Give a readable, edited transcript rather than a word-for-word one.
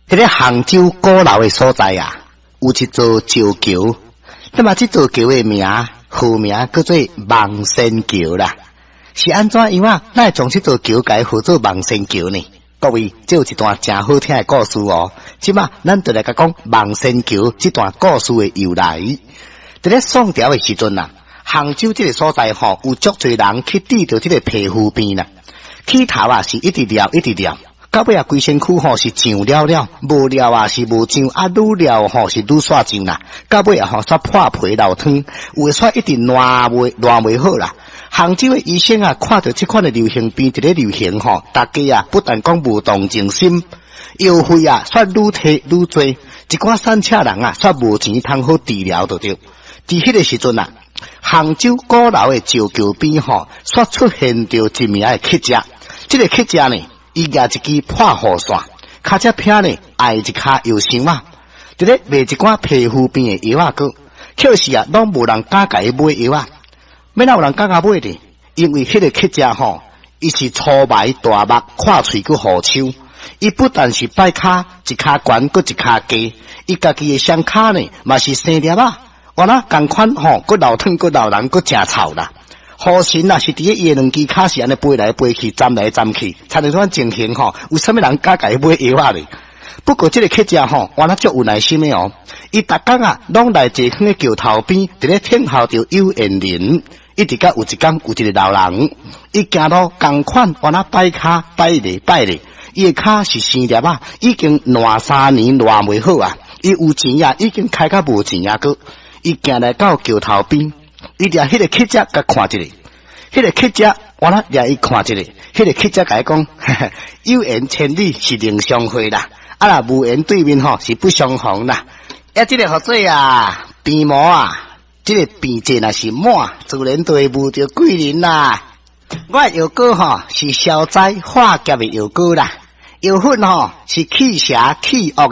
佇咧杭州鼓樓的所在啊，有一座石橋。那麼這座橋的名，號名叫做望仙橋啦。是按怎樣啊？哪會將這座橋改號做望仙橋呢？各位，這有一段誠好聽的故事哦。這馬咱就來共講望仙橋這段故事的由來。佇咧宋朝的時陣啊，杭州這个所在吼，有足濟人去治著這个皮膚病啦。起頭啊是一直療一直療，到尾啊規身軀吼是脹了了，無療啊是無脹，啊愈療吼是愈煞脹啦。到尾啊吼煞破皮流湯，有的煞一直爛袂爛袂好啦。杭州的醫生啊，看著這款的流行病佇咧流行吼，大家啊不但講無同情心，藥費啊煞愈提愈濟，一寡散赤人啊煞無錢通好治療就對。佇彼个時陣啊，杭州鼓樓的石橋邊吼，煞出現著一名的乞食。這个乞食呢，伊舉一支破雨傘，跤隻偏呢礙一跤藥箱仔，佇咧賣一寡皮膚病的藥仔閣，可是啊，攏無人敢共伊買藥仔。欲哪有人敢共買呢？因為彼个乞食吼，伊是粗眉大目，闊喙閣虎鬚，伊不但是擺跤，一跤懸閣一跤低，伊家己的雙跤呢，嘛是生粒仔。原來仝款吼，閣流湯，閣流人，閣誠臭啦。雨神啊，是佇咧伊的兩支跤是按呢飛來飛去，鑽來鑽去，親像這款情形吼，有啥物人敢共伊買藥仔咧？不過這个乞食吼，原來足有耐心的哦。伊逐工啊，攏來坐佇橋頭邊，佇咧等候著有緣人。一直到有一工，有一个老人，伊行路仝款，原來擺跤擺咧擺咧，伊的跤是生粒仔，已經爛3年爛袂好啊。伊有錢啊，已經開甲無錢啊，閣。伊行來到橋頭邊，伊掠彼个乞食共看一下，彼个乞食原來掠伊看一下，彼个乞食共伊講，有緣千里是能相會啦，啊若無緣對面吼是不相逢啦。啊，這个號做啊，病魔啊，這个病症若是滿，自然就會遇著貴人啦。我的藥膏吼是消災化劫的藥膏啦，藥粉吼是去邪去惡的。